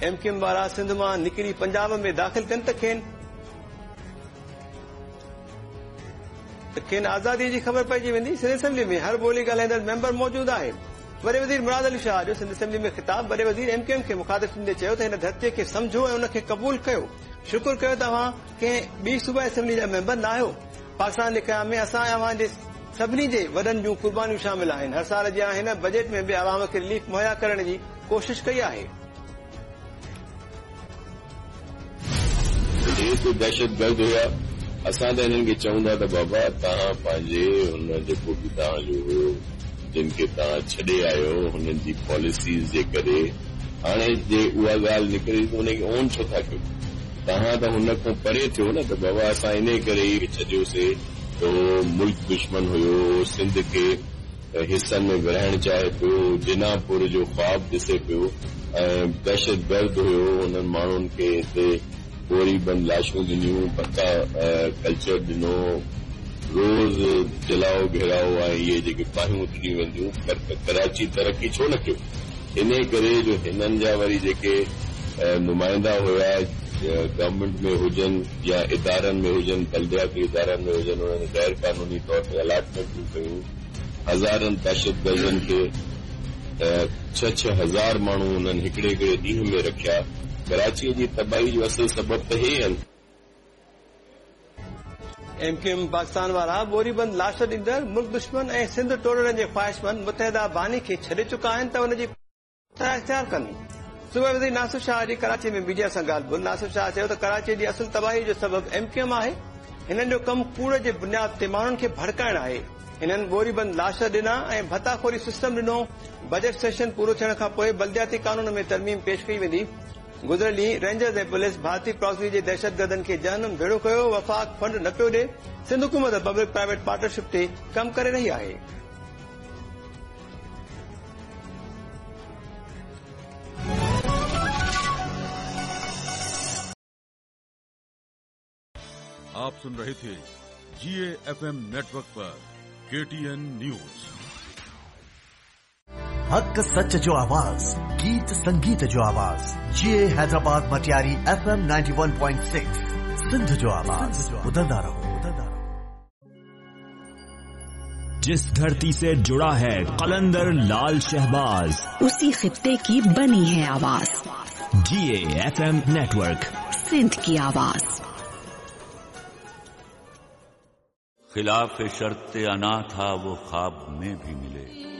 M Q M وارا سنڌ مان نڪري پنجاب ۾ داخل ٿين ته کين آزادي جي خبر پئجي ويندي، سنڌ اسيمبلي ۾ هر ٻولي ڳالهائيندڙ ميمبر موجود آهي. وڏي وزير مراد علي شاهه جو سنڌ اسيمبلي ۾ خطاب، وڏي وزير ايم ڪيو ايم کي مخاطب ٿيندي چيو ته هن ڌرتي کي سمجهو ۽ ان کي قبول ڪيو، شڪر ڪيو ته اوهان ڪنهن ٻي صوبائي اسيمبلي جا ميمبر ناهيو، پاڪستان جي قيام ۾ اسان ۽ اوهان جي سڀني جي وڏن جون قربانيون شامل آهن، هر سال جيان هن بجيٽ ۾ به عوام کي رليف مهيا ڪرڻ جي ڪوشش ڪئي آهي. هي ته دهشتگرد هيا، اسان ته هنن کي چئون ٿا ته بابا توهان پنهنجي هن جيڪو به توهان جو هيو جن کي توهان ڇڏي آيو هنن جي پاليسيز جي ڪري هاڻي جي اها ڳالهه نڪري ته ان کي اون ڇو ٿا ڪيو توهان ته هن کان پري ٿيو نه ته بابا اسان انهي ڪري ئي ڇڏيوسي ته هو ملڪ دشمن هيو سنڌ کي حصن ۾ ورهائڻ چاهي پيو، جناح پور جو خواب ڏسي پيو ۽ دهشتگرد هيو، انهن ماڻهن کي هتي ٻوري بند لاشون ڏنيون، ڀتا ڪلچر ڏنو، روز جلائو گهيرائو ۽ اهي جيڪي باهيون ڏنيون وينديون، ڪراچي ترقي ڇو نه ڪيو؟ انهي ڪري جو هنن جا وري جيڪي نمائندا هيا گورنمينٽ ۾ هجن يا ادارن ۾ هجن، بلدياتي ادارن ۾ هجن، انهن غير قانوني طور تي الاٽمينٽون ڪيون. هزارن دهشتگردن کي ڇهه ڇهه هزار ماڻهو انهن هڪڙي هڪڙي ڏينهن ۾ رکيا. ڪراچيء جي تباهي جو اصل سبب ته هي آهن. ايم ڪيو ايم پاڪستان وارا ٻوري بند لاش ڏيندڙ ملڪ دشمن ۽ سنڌ ٽوڙڻ جي خواهشمند متحده باني کي ڇڏي چڪا آهن ته ان جي طرح اختيار ڪن. صوبائي وزير ناصر شاهه جي ڪراچي ۾ ميڊيا سان ڳالهه ٻولهه ناصر شاهه چيو ته ڪراچي جي اصل تباهي جو سبب ايم ڪيو ايم آهي، هنن جو ڪم ڪوڙ جي بنياد تي ماڻهن کي ڀڙڪائڻ آهي، هنن ٻوري بند لاش ڏنا ۽ ڀتا خوري سسٽم ڏنو، بجيٽ سيشن پورو ٿيڻ کان پوء بلدياتي قانون ۾ ترميم پيش ڪئي ويندي، گذريل ڏينهن رينجرز ۽ پوليس ڀارتي پراڪسي جي دهشتگردن کي جهنم ڀيڙو ڪيو، وفاق فنڊ نه پيو ڏي، سنڌ حڪومت پبلڪ پرائيويٽ پارٽنرشپ تي ڪم ڪري رهي آهي. आप सुन रहे थे जीएफएम नेटवर्क पर केटीएन न्यूज। हक़ सच जो आवाज़, गीत संगीत जो आवाज़, जी हैदराबाद मटियारी एफएम 91.6 सिंध जो आवाज़, ॿुधंदा रहो। जिस धरती से जुड़ा है कलंदर लाल शहबाज, उसी खित्ते की बनी है आवाज, जीएफएम नेटवर्क, सिंध की आवाज। खिलाफ शर्त अना था वो ख्वाब में भी मिले।